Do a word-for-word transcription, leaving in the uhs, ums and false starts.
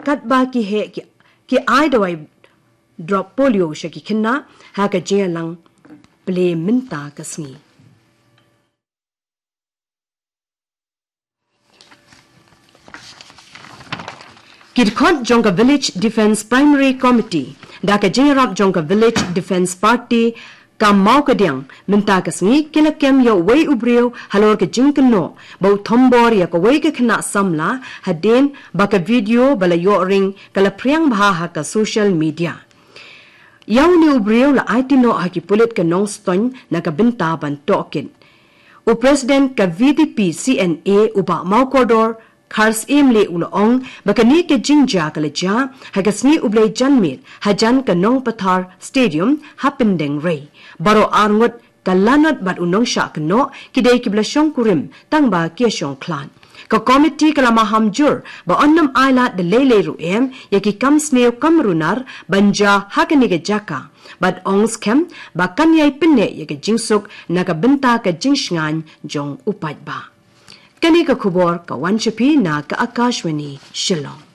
katba ki heh ki, ki ai dawai drop polio sha ki khynnah ha ka jingïalang plie mynta ka sngi. Ki dkhot jong ka Village Defence Primary Committee da ka jingïarap jong ka Village Defence Party ka Mawkadiang mynta ka sngi ki la kem ïa uwei u briew halor ka jingkynnoh ba u thombor ïa kawei ka khynnah samla hadien ba ka video ba la ïoh ring ka la phriang bha ha ka social media. Ïa une u briew la aiti noh ha ki pulit ka Nongstoiñ na ka bynta ban tohkit. U President ka V D P C N A u Bah Mawkordor Kharsyiem Leigh u la ong ba kane ka jingjia ka la jia ha ka sngi U Blei janmiet hajan ka Nongpathar Stadium ha Pyndengrei. Baroh arngut ka lanot bad u nongshah kynnoh ki dei kiba la shongkurim tang ba ki ïa shongkhlad. Ka komiti ka la maham jur ba yn nym ailad da lei lei ruh em ïa ki kam sniew kam runar ban jia ha kane ka jaka bad ong skhem ba kan ïai pynneh ïa ka jingsuk na ka bynta ka jingshngaiñ jong u paidbah. Kane ka khubor ka wan sha phi na ka Akashvani Shillong.